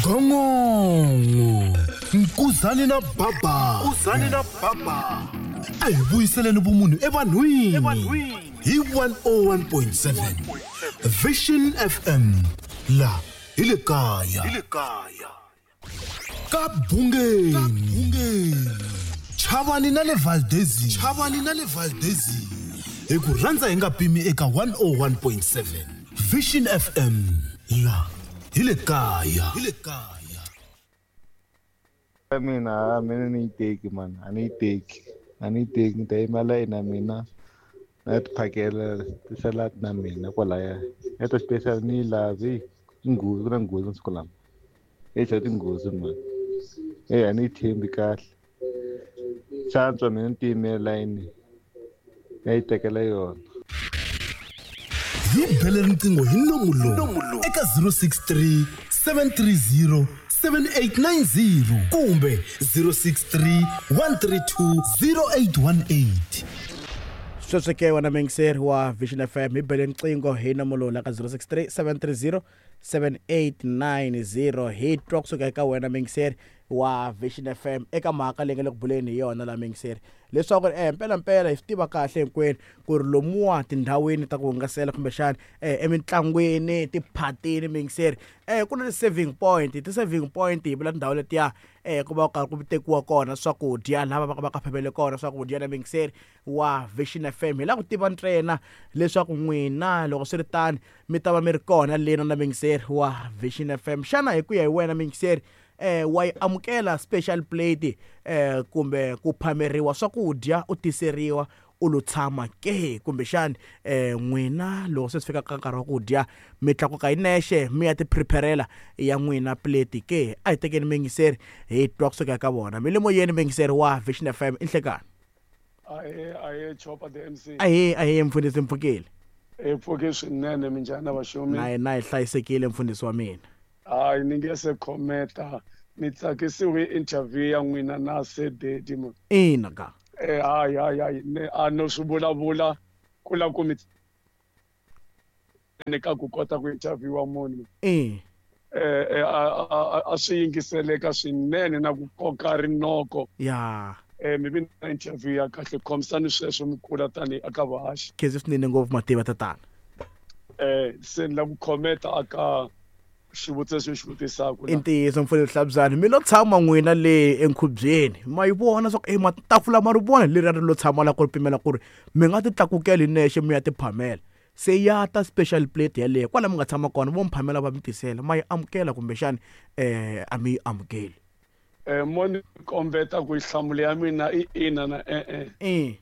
Gongongo Nkuzani na Baba. Nkuzani na Baba. A hi vuyiseleni vumunhu evanhwini. Hi 101.7 Vision FM la hi le kaya. Hi le kaya. Ka Bungeni. Chavani na le Valdezini. Chavani na le Valdezini. Hi ku rhandza hi nga pimi eka 101.7 Vision FM la hi le kaya. Hi le kaya. Mina mina ni yi teki mani a ni yi teki a ni yi teki ni ta yimela ina mina na ti phakela ti-salad na mina kwalaya ya ta special ni yi lavi nghozi ku na nghozi masiku lama e xa tinghozi mani e a ni yi tshembi kahle swa antswa mina ni tiyimela layini ya yi tekela yona. Hi bele riqingho hi nomu lowu eka 063 730 7890 kumbe 063 132 0818. Sweswo ke wena muyingiseri wa Vision FM hi bele riqingho hi nomu lowu la ka 063 730 7890 hi twa kusuka eka wena muyingiseri wa Vision FM eka mhaka leyi nga le ku buleni hi yona la muyingiseri leswaku mpelampela hi swi tiva kahle hinkwenu ku ri lomuwa tindhawini ta ku hungasela kumbexana emitlangwini tiphatini muyingiseri ku na ti-saving point ti-saving point hi vula tindhawu letiya ku va ku karhi ku tekiwa kona swakudya lava va ka phamele kona swakudya na muyingiseri wa Vision FM hi lava ku tiva ntsena leswaku n'wina loko swi ri tano mi ta va mi ri kona lena na muyingiseri wa Vision FM xana hi ku ya hi wena muyingiseri wa yi amukela special plate kumbe ku phameriwa swakudya u tiseriwa u lo tshama ke kumbexani n'wina loko se swi fika ka nkarhi wa ku dya mi tlakuka hi nexe mi ya ti preparela ya n'wina plate ke a hi tekeni muyingiseri hi twa kusuka eka vona mi le moyeni muyingiseri wa Vision FM i nhlekani. Ahee ahee Chopa the MC. Ahee ahee mfundhisi mpfukile. Hi pfuke swinene minjhani na vaxumi. Na hina hi hlayisekile mfundhisi wa mina. Hayi ni nge se khometa ni tsakisiwe hi interview ya n'wina na Sir Daddy man. Ina ka. Eh hayi hayi hayi ne a no swi vulavula ku la ku mi ni ka ku kota ku interviewa munhu. Eh. Eh a swi yingiseleka swinene na ku koka rinoko. Ya. Eh mi vi na interview ya kahle khomisani sweswo mi kula tanihi aka vahaxi. Khensi swinene ngopfu mativa tatana. Eh se ni la ku khometa aka xivutiso lexi xi vutisaka I ntiyiso mfundhisi Hlabyani mi lo tshama n'wina le enkhubyeni ma yi vona swa ku e matafula ma ri vona leriya ri lo tshama la ku ri pimela ku ri mi nga ti tlakukela hi nexe mi ya ti phamela se ya ta special plate yaleyo kwala mi nga tshama kona vo mi phamela va mi tisela ma yi amukela kumbexani a mi yi amukeli. Mo ni kombeta ku nhlamulo ya mina i ina na e-e.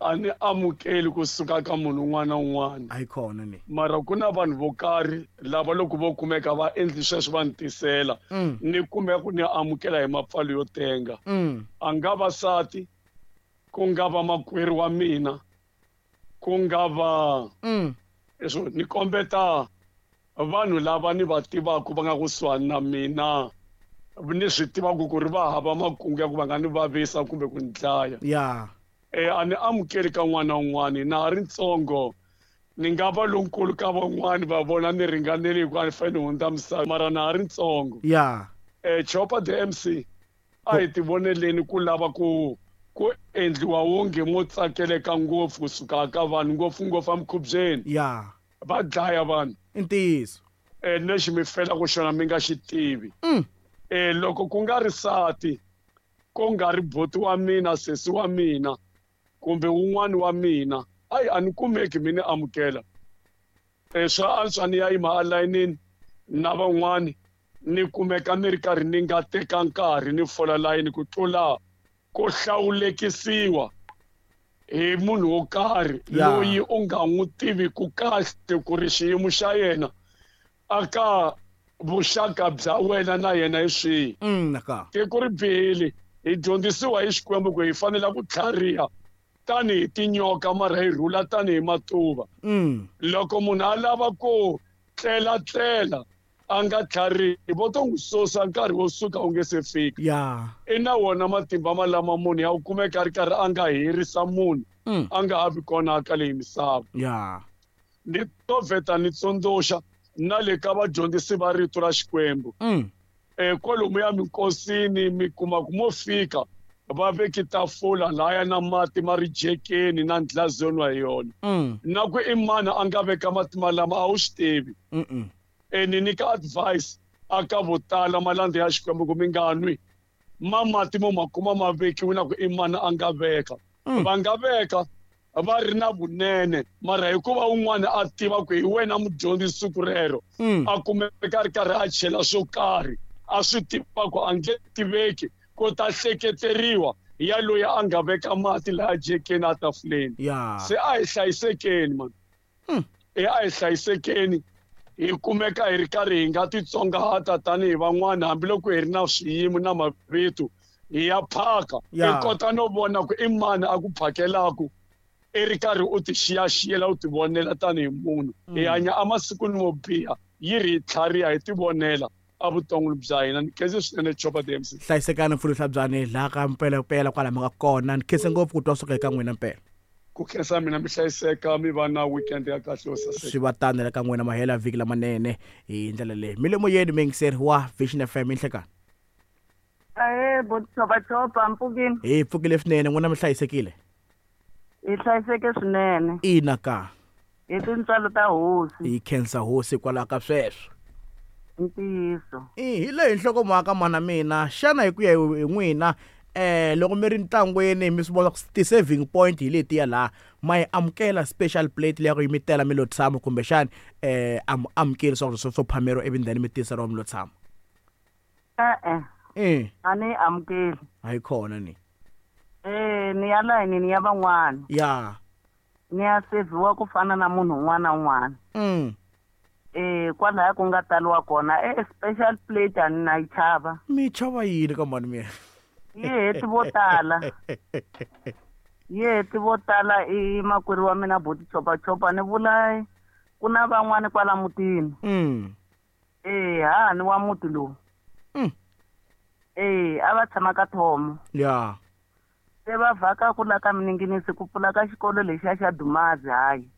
A ni amukeli kusuka ka munhu un'wana na un'wana. A yi kona ni. Mara ku na vanhu vo karhi lava loko vo kumeka va endli sweswo va ni tisela ni kumeka ku ni amukela hi mapfalo yo tenga. A nga va sati, ku nga va makwerhu wa mina, ku nga va leswo ni kombeta vanhu lava ni va tivaka va nga kusuhani na mina ni swi tivaka ku ri va hava makungu ya ku va nga ni vavisa kumbe ku ni dlaya. A ni amukeli ka n'wana na un'wana na ha ri ntsongo ni nga va lonkulu ka van'wani va vona ni ringanele hikuva ni fanele ni hundza misava mara na ha ri ntsongo. Chopa the MC a hi tivoneleni ku lava ku ku endliwa wonge mo tsakeleka ngopfu kusuka ka vanhu ngopfungopfu emikhubyeni. Va dlaya vanhu. I ntiyiso. Lexi mi felaka xona mi nga xi tivi. Loko ku nga ri sati, ku nga ri buti wa mina, sesi wa mina, kumbe wun'wani wa mina, ayi a ni kumeki mi ni amukela. Swa antswa ni ya yima alayinini na van'wani ni kumeka ni ri karhi ni nga teka nkarhi ni fola layini ku tlula ku hlawulekisiwa hi munhu wo karhi loyi u nga n'wi tiviku kahle ku ri xiyimo xa yena aka vuxaka bya wena na yena hi swihi. Tiko ri bihile hi dyondzisiwa hi Xikwembu ku hi fanele ku tlhariha tanihi tinyoka mara hi rhula tanihi matuva. Loko munhu a lava ku tlelatlela a nga tlharihi vo to n'wi susa nkarhi wo suka wu nge se fika. I na wona matimba malama munhu ya wu kumeka a ri karhi a nga herisa munhu a nga ha vi kona ka leyi misava. Ni to vheta ni tsundzuxa Na le ka vadyondzisi va rito ra Xikwembu. Kwalomuya minkosini mi kuma ku mo fika va veki tafula laya na mati ma ri jekeni na ndlazi yo nwa hi yona. Na ku i mani a nga veka mati malama a wu swi tivi. Ni nyika advice aka vo tala malandza ya Xikwembu ku mi nga nwi ma mati mo ma kuma ma vekiwe na ku i mani a nga veka. Va nga veka va ri na vunene, mara hikuva un'wana a tiva ku hi wena mudyondzisi siku rero, a kumeka a ri karhi a chela swo karhi a swi tiva ku a nge tiveki ku ta hleketeriwa ya loyi a nga veka mati laya jekeni a tafuleni. Se a hi hlayisekeni man. A hi hlayisekeni hi kumeka hi ri karhi hi nga titsongahata tanihi van'wana hambiloko hi ri na swiyimo na mavito hi ya phaka. I kota no vona ku i mani a ku phakelaku i ri karhi u ti xiyaxiyela u ti vonela tanihi munhu. Hi hanya emasikwini mo biha yi ri hi tlhariha hi ti vonela evuton'wini bya hina. Ni khense swinene Chopa DMC. Hlayisekani mfundhisi Hlabyani laha ka mpelampela kwala mi nga kona. Ni khense ngopfu ku twa suka eka n'wina mpela. Ku khensa mina, mi hlayiseka, mi va na weekend ya kahle yo saseka. Swi va tano la ka n'wina, mahela vhiki lamanene hi ndlela leyi. Mi le moyeni muyingiseri wa Vision FM inhlekani. Ahee, bo Chopa mpfukini. Hi pfukile swinene, n'wina mi hlayisekile? Hi hlayiseke swinene. Ina ka. Hi tintswalo ta hosi. Hi khensa hosi kwalaho ka sweswo. Ntiyiso. Hi leyi nhlokomhaka mana mina, xana hi ku ya hi n'wina loko mi ri ntlangwini mi swi vona ti-saving point hi letiya laha ma yi amukela special plate leya ku yi mi tela mi lo tshama, kumbexani a mi amukeli swakudya swo phameriwa ivi then mi tiseriwa mi lo tshama? E-e. A ni yi amukeli. A yi kona ni. Ni ya layinini ya van'wana. Ni ya seviwa ku fana na munhu un'wana na un'wana. Kwalaya ku nga taliwa kona special plate a ni na yi chava. Mi chava yini ka mhani mina? Yi heti vo tala. Yi heti vo tala i makwerhu wa mina buti Chopa Chopa ni vula ku na van'wani kwala mutini. Hahani wa muti lowu. A va tshama ka Thomo. Se va vhaka ku la ka Mininginisi ku pfula ka xikolo lexiya xa Dumazi hayi.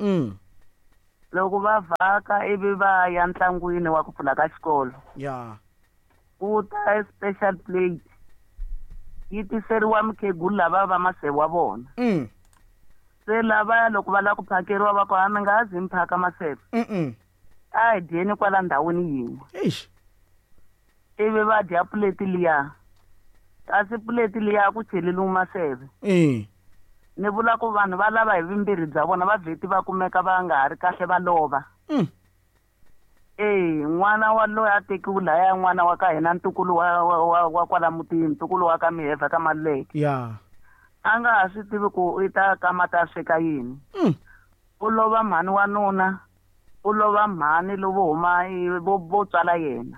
Loko va vhaka ivi va ya ntlangwini wa ku pfula ka xikolo. Ku ta special plate yi tiseriwa mukhegulu lava va maseve wa vona. Se lava loko va lava ku phakeriwa va ku a mi nga zi mi phaka maseve. A hi dyeni kwala ndhawini yin'we. Eish. Ivi va dya puleti liya. Kasi puleti liya ku cheleliwe maseve. Ni vula ku vanhu va lava hi vumbirhi bya vona va vheti va kumeka va nga ha ri kahle va lova. N'wana wa loyi a tekiwe laya n'wana wa ka hina ntukulu wa kwala mutini, ntukulu wa ka Miheva ka Maluleke. A nga ha swi tivi ku i ta kama ta sweka yini. U lova mhani wa nuna, u lova mhani lovo huma vo tswala yena.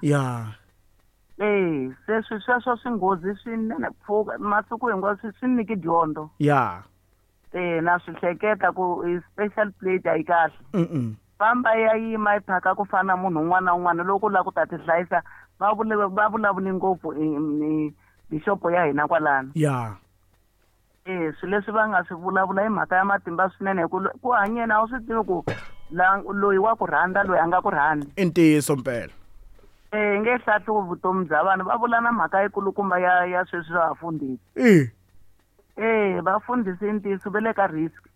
Se sweswo swi nghozi swinene pfuka masiku hinkwawo swi nyiki dyondzo. Na swi hleketa ku special plate a yi kahle. Famba ya yima yi phaka ku fana na munhu un'wana na un'wana loko u lava ku ta ti hlayisa va vulavuli ngopfu bishopo ya hina kwalano. Swilo leswi va nga swi vulavula hi mhaka ya matimba swinene hi ku hanyeni a wu swi tivi ku loyi wa ku rhandza loyi a nga ku rhandzi. I ntiyiso mpela. Nge hlahluvi vutomi bya vanhu va vula na mhaka yikulukumba ya sweswi swa vafundhisi. Vafundhisi i ntiyiso va le ka risk.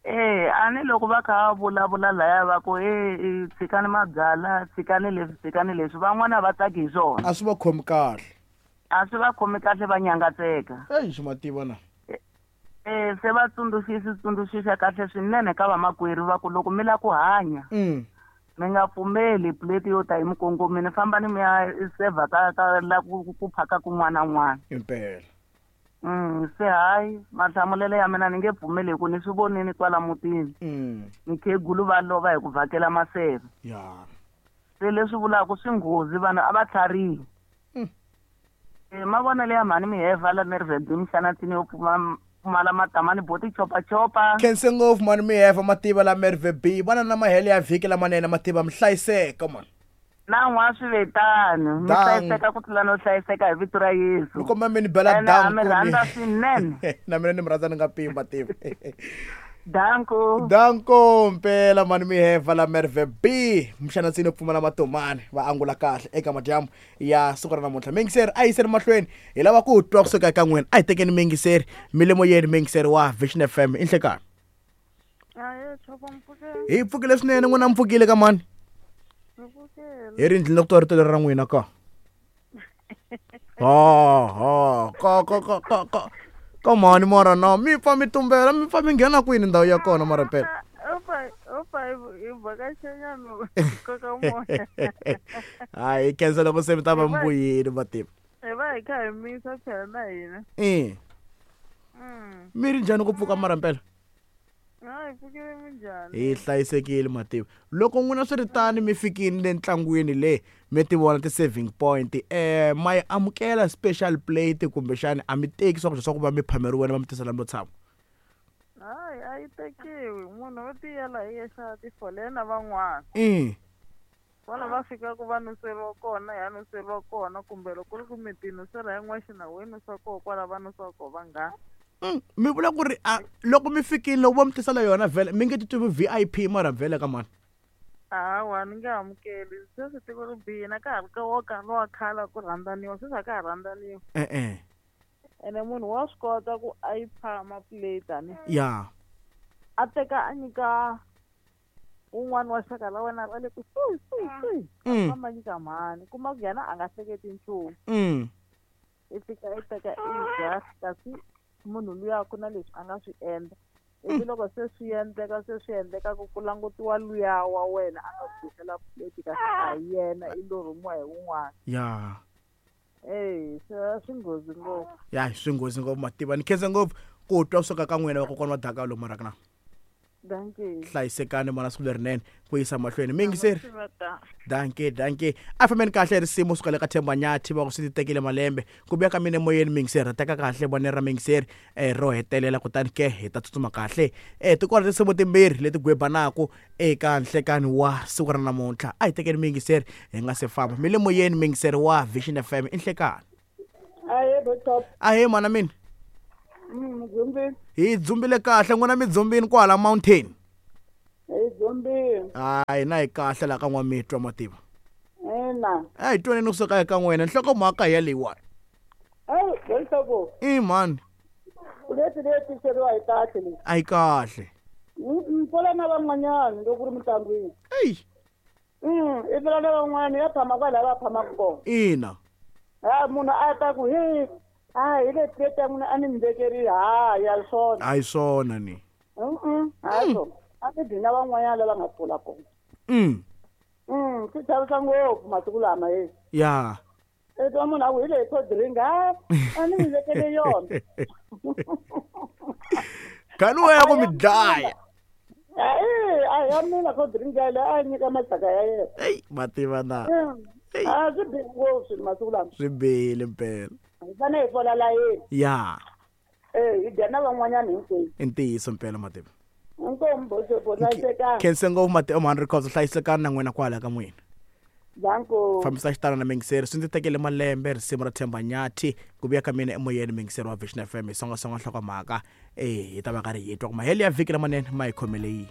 A ni loko va kha va vulavula laya va ku tshikani mabyala, tshikani leswi, tshikani leswi, van'wana va tsaki hi swona. A swi va khomi kahle. A swi va khomi kahle va nyangatseka. Eish mativa na. Se va tsundzuxisa kahle swinene ka vamakwerhu va ku loko mi lava ku hanya. Mi nga pfumeli plate yo ta hi mikongomini, fambani mi ya seva ka la ku phaka kun'wana na un'wana. Impela. Se hayi mahlamulelo ya mina ni nge pfumeli hi ku ni swi vonini kwala mutini. Mikhegulu va lova hi ku vhakela maseve. Se leswi vulaka swi nghozi vanhu a va tlharihi. Mavonelo ya mhani Miheva la Mervedini Mixanatsini yo pfumala matamani boti Chopa Chopa. Khense ngopfu mhani Miheva mativa la Merve B. Vana na mahelo ya vhiki lamanene mativa mi hlayiseka mani. Na n'wa swi vetani mi hlayiseka ku tlula no hlayiseka hi vito ra Yesu. Mi komba mi ni bela down mi rhandza swinene. Na mina ni mi rhandza ni nga pimi mativa. Danko. Danko mpela mani miheva la Merve B. Mxanatsini pfumala matomani va angula kahle eka madyambu ya siku ra namuntlha. Mingiseri a yiseni mahlweni hi lava ku twa kusuka eka n'wina. A hi tekeni mingiseri milimo yeni mingiseri wa Vision FM i nhlekani. Hi pfukile swinene n'wina mi pfukile ka mani? Hi ri ndlini ku twa rito leri ra n'wina ka. Ha ha ka ka ka ka ka. Ka mhani mara na mi pfa mi tumbela mi pfa mi nghena kwini ndhawu ya kona mara mpela. Hayi khensa loko se mi ta va mi vuyile mativa. Hi va hi kha hi misa phela na hina. E. Mi ri njhani ku pfuka mara mpela? Hi hlayisekile mativa. Loko n'wina swi ri tani mi fikini le ntlangwini le mi ti vona ti-saving point ma yi amukela special plate kumbexani a mi teki swakudya swa ku va mi phameriwile va mi tisela mo tshama? Hayi a yi tekiwi, munhu wo tiyela hi yexe a tifolela na van'wana. Vona va fikaka va nuseriwa kona ya nuseriwa kona kumbe loko ku ri ku mi ti nusela hi n'wexe na we nusa koho kwala va nusaka koho vanghana. Mi vula ku ri a loko mi fikile loko va mi tisela yona vhele mi nge titwi VIP mara vhele ka mani? Hawa ni nge amukeli, sweswi tiko ri bihile a ka ha ri ka wo ka lowa khale ku rhandzaniwa sweswi a ka ha rhandzaniwa. E-e. Ene munhu wa swi kota ku a yi phama plate ani. Ya. A teka a nyika un'wana wa xaka ra wena ra le kusuhi suhi suhi. A famba nyika mhani kuma ku yena a nga hleketi nchumu. I fika i teka i dya kasi munhu luya ku na leswi a nga swi endla. Ivi loko se swi endleka ku langutiwa luya wa wena a nga ku tisela plate kasi a hi yena i lo rhumiwa hi wun'wana. Ya. Swi nghozi ngopfu. Ya swi nghozi ngopfu mativa. Ni khensa ngopfu ku twa kusuka ka n'wina vakokwana wa Dakalo mara na. Dankie. Hlayisekani mana siku lerinene ku yisa mahlweni. Mingiseri. Dankie, dankie. A fambeni kahle risimu suka le ka Themba Nyathi va ku swi tekile malembe. Ku vuya ka mina emoyeni mingiseri, teka kahle vone ra mingiseri ro hetelela kutani ke hi ta tsutsuma kahle. Tikona tinsimu timbirhi leti gwebanaku eka nhlekani wa siku ra namuntlha. A hi tekeni mingiseri hi nga se famba. Mi le moyeni mingiseri wa Vision FM i nhlekani. Ahe mana mina. Hi dzumbile kahle n'wina mi dzumbini kwala mountain. Hi dzumbini. Hayi na hi kahle la ka n'wamitwa mativa. Ina. A hi twaneni kusuka eka n'wina nhlokomhaka ya leyiwani. Leswaku. I mani? Leti leyi tiseriwa hi kahle leyi. A yi kahle. Pfula na van'wanyana loko ku ri mintlangwini. Eyi. I pfula na van'wana ya phama kwala va phamaka kona. Ina. Ha munhu a ta ku hi hi le plate ya n'wina a ni mi vekeri ha ya swona. A hi swona ni. Ha swona. A mi dyi na van'wanyana lava nga pfula kona. Swi chavisa ngopfu masiku lama he. Ya. I twa munhu a ku hi leyi cold drink ha a ni mi vekele yona. Kani wena ku mi dlaya. A ya mina cold drink yaleyo a nyika maxaka ya yena. Eyi mativa na. A swi bihi ngopfu masiku lama. Swi bihile mpela. Hi fanele hi fola layeni. Ya. Hi dya na van'wanyana hinkwenu. I ntiyiso mpela mativa. Inkomu boxo hlayisekani. Khense ngopfu mativa mhani Records hlayisekani na n'wina kwala ka n'wina. Danko. Fambisa xitalo na mingiseri swi ndzi tekele malembe risimu ra Themba Nyathi ku vuya ka mina emoyeni mingiseri wa Vision FM hi songasonga nhlokomhaka hi ta va karhi hi twa ku mahelo ya vhiki lamanene ma hi khomele yini.